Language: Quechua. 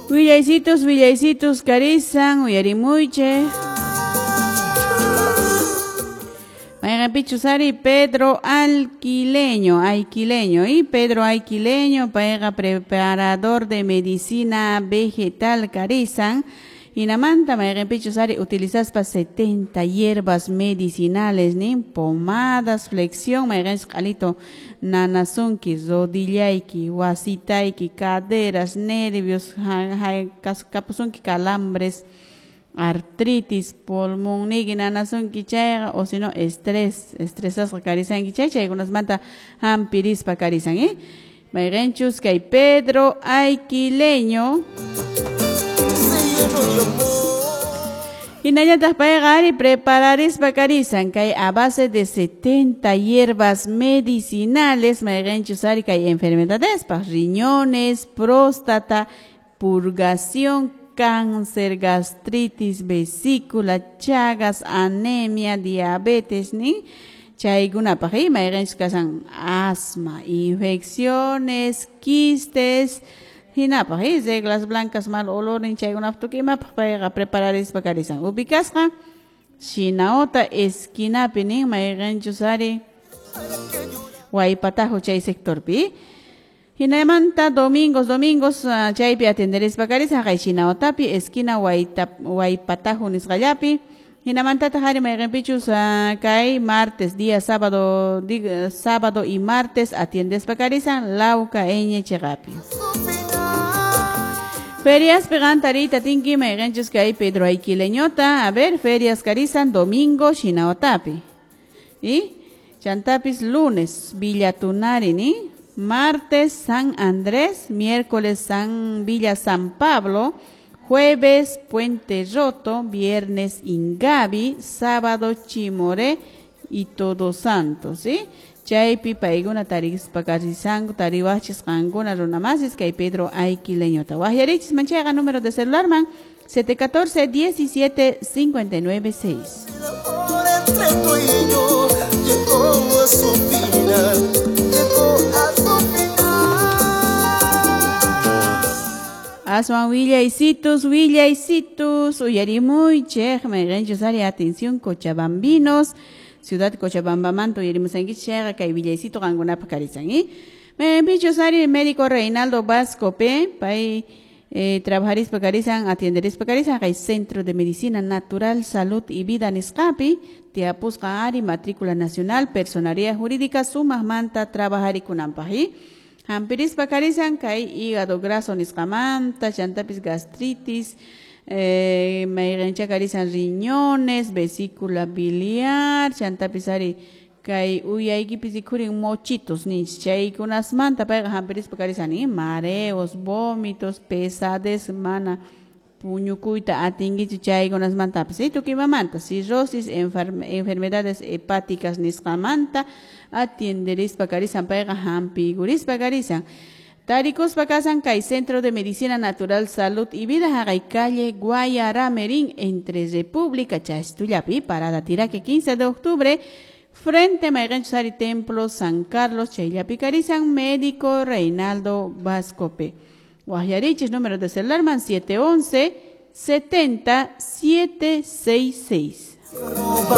Willaysitos, willaysitos karisan, uyarimuyche. Mayqanpichus ari Pedro Alquileño, Aiquileño, y Pedro Aiquileño, payqa preparador de medicina vegetal karisan. Hinamanta mayqanpichus ari utilizaspa 70 hierbas medicinales, nin pomadas, flexión, mayqanchus q'alito nanasunki, rodillayki, wasitayki, caderas, nervios, kapusunki calambres, artritis, pulmonniyki nanasunki chayqa, o si no estrés, estresasqa karisanki chay, chaykunasmanta hampirispa karisan, ¿eh? Mayqanchus kay Pedro Aiquileño. Hinallataq payqa ari prepararispa karisan kay a base de 70 hierbas medicinales mayqanchus ari kay enfermedadespaq, riñones, próstata, purgación, cáncer, gastritis, vesícula, chagas, anemia, diabetes, ni chaykunapaq, ¿eh? Mayqanchus kasan asma, infecciones, quistes, hinapaq, ¿eh? Reglas blancas, mal olor, chaykunapaq tukimapaq payqa prepararispa karisan. Ubicasqa Shinaota esquinapi nin mayqanchus ari Waypatajo chay sectorpi. Hinamanta domingos, domingos chaypi atenderispa karisan kay Shinaotapi esquina Waypatajo nisqallapi. Hinamantataq ari mayqanpichus kay martes, día sábado, sábado y martes atiendespa karisan Lauca Eñe cheqapi. Ferias pegantarita tinki mayqanchus kay Pedro Aiquileñota, a ver, ferias karisan domingo Shinaotapi. Y chantapis lunes Villa Tunari, ni martes San Andrés, miércoles San Villa San Pablo, jueves Puente Roto, viernes Ingavi, sábado Chimoré y Todos Santos, ¿sí? Chaypi paykuna tarispa karisanku tariwachis qankuna runamasis kay Pedro Aiquileñota. Waqyarichis manchayqa número de celular man 714 17 59 6. Entre tú y yo llegó a su final, llegó a su final. Aswan willaysitos, willaysitos, uyarimuychej, mayqanchus ari atención cochabambinos, Ciudad Cochabambamanta uyarimusankichis chayqa kay willaysito qankunapaq karisan, ¿eh? Mayqanpichus ari médico Reinaldo Vasco P, pay trabajarispa karisan, atienderispa karisan kay Centro de Medicina Natural, Salud y Vida nisqapi, tiyapusqa ari matrícula nacional, personería jurídica sumaqmanta trabajarikunanpaq, ¿eh? Hampirispa karisan kay hígado graso nisqamanta, chantapis gastritis, mayqancha karisan riñones, vesícula biliar, chantapis ari kay uyaykipis rikhurin mochitos ninchis, chaykunasmanta payqa hampirispa karisan, ¿eh? Mareos, vómitos, pesadez, mana puñukuyta atinkichu chaykunasmantapis, ¿eh? Tukimamanta, cirrosis, enfermedades hepáticas nisqamanta atienderispa karisan payqa hampiykurispa karisan. Tarikuspa kasan kay Centro de Medicina Natural, Salud y Vida haqay calle Guayaramerín entre República Chastullapi, Parada Tiraque 15 de octubre, frente mayqanchus ari Templo San Carlos chayllapi karisan médico Reinaldo Vasco P. Waqyarichis número de celular man 711 70 766.